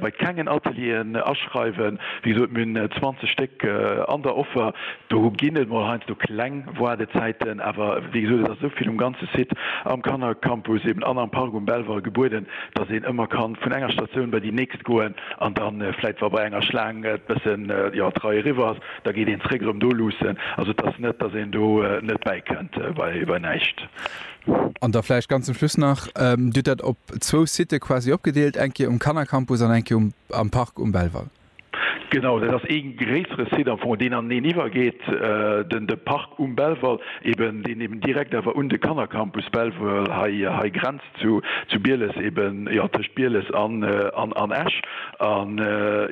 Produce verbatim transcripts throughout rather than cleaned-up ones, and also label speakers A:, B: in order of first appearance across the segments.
A: bei kengen Atelieren aschreiwen. Wéi gesot, mir hunn zwanzeg Stéck an der Offer. Do ginn et mol heiansdo kleng Waardezäiten, awer wéi gesot, et ass esou vill um ganze Site, am Kannercampus eben an am Park um Belval gebueden, dass een ëmmer kann vun enger Statioun bei déi nächst goen an dann vläit, wa bei enger Schlaang et bëssen, jo, d'Rei eriwwer ass, da geet een zréck erëm do luussen. Also et ass net, dass een do net bäikënnt bei bei näischt.
B: An da vläicht ganz zum Schluss nach, Dir hutt dat op zwou Sitë quasi opgedeelt, eng Kéier um Kannercampus an eng Kéier um am Park um Belval.
A: Genau, dat ass ee gréissere Site am Fong, deen aneneen iwwergeet, den de Park um Belval eben, deen eben direkt awer un de Kannercampus Belval hei hei grenzt zu zu Bieles eben, jo, tëscht Bieles an an an Esch. An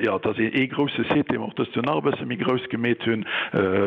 A: jo, et ass ee ee grousse Site, dee mer och dëst Joer nach e bësse méi grouss gemeet hunn,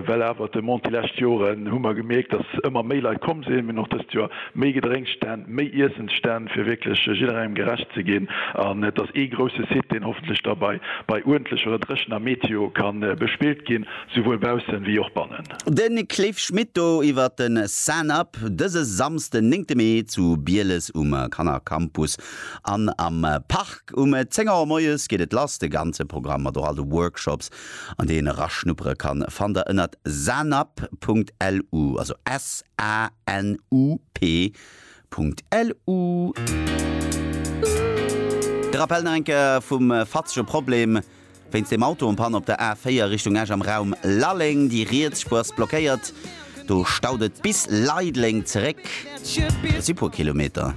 A: well awer d'Demande déi lescht Joren hu mer gemierkt, dass ëmmer méi Leit komm sinn. Mir hunn och dëst Joer méi Gedrénksstänn, méi Iessensstänn, fir wierklech jidderengem gerecht ze ginn. An et ass ee grousse Site, deen hoffentlech da bei bei uerdentlecher oder dréchener Meteo ka bespillt ginn, souwuel baussen wéi och bannen.
C: De Cliff Schmit do iwwer de SanUp dëse Samsden, néngte Mee zu Bieles um Kannercampus an am Park. Um zéng Auer moies geet et lass. De ganze Programm mat och all de Workshops, an déi een eraschnuppere kann, fannt der ënnert sanup.lu, also S-A-N-U-P. Punkt LU. De Rappell nach eng Kéier vum fatzege Problem wéinst dem Auto en panne op der A véier Richtung Esch am Raum Lalleng. Déi riets Spuer ass blockéiert, do staut et bis Leideleng zeréck. Dat si puer Kilometer.